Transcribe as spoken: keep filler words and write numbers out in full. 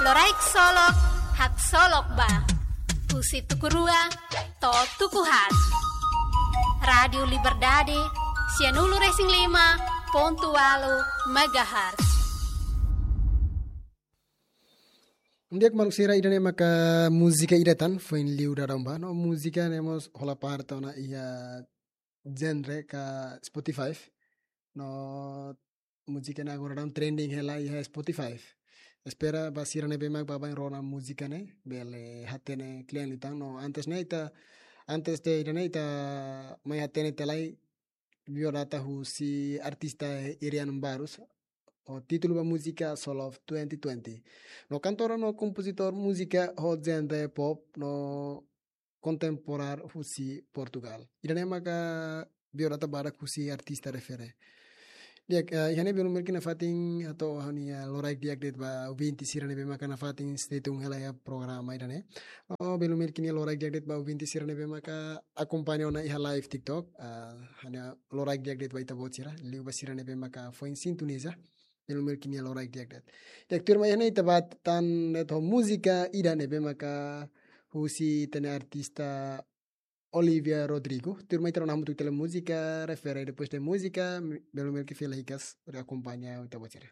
Loraik Solok, haksolok ba. Husi tuku rua to'o tuku haat. Rádiu Liberdade, sianulu-resin-lima pontu ualu megahertz. Di'ak maluk sira, ida-ne'e maka múzika ida tan, foin liu daudaun ba. No múzika ne'e mós hola parte ona iha genre ka Spotify. No múzika ne'e agora daudaun trending hela iha Spotify. Espera ba sira ne'ebé mak baibain rona múzika ne'e, bele hatene kle'an liután. No antes ne'e ita, antes de ida-ne'e ita mai hatene tiha lai biodata husi artista Irian Barros, ho títulu ba múzika Soul of twenty twenty. No kantora no kompozitór múzika ho genre pop no kontemporáneu husi Portugal. Ida-ne'e maka biodata badak husi artista refere. Di'ak, eh, iha ne'e belun Melki nafatin hato'o ha'u-nia loraik di'ak de'it ba ouvinte sira ne'ebé maka nafatin stay tune hela iha programa ida-ne'e. No belun Melki nia loraik di'ak de'it ba ouvinte sira ne'ebé maka akompaña ona iha live TikTok. Ah, ha'u-nia loraik di'ak de'it ba ita-boot sira, liu ba sira ne'ebé maka foin sintoniza. Belun Melki nia loraik di'ak de'it. Di'ak, tuirmai iha ne'e ita bá tan de'it ho múzika ida ne'ebé maka husi ita-nia artista Olivia Rodrigo. Tuirmai ita rona hamutuk tiha lai múzika refere, depois de múzika, belun Melki fila hikas, hodi akompaña ita-boot sira.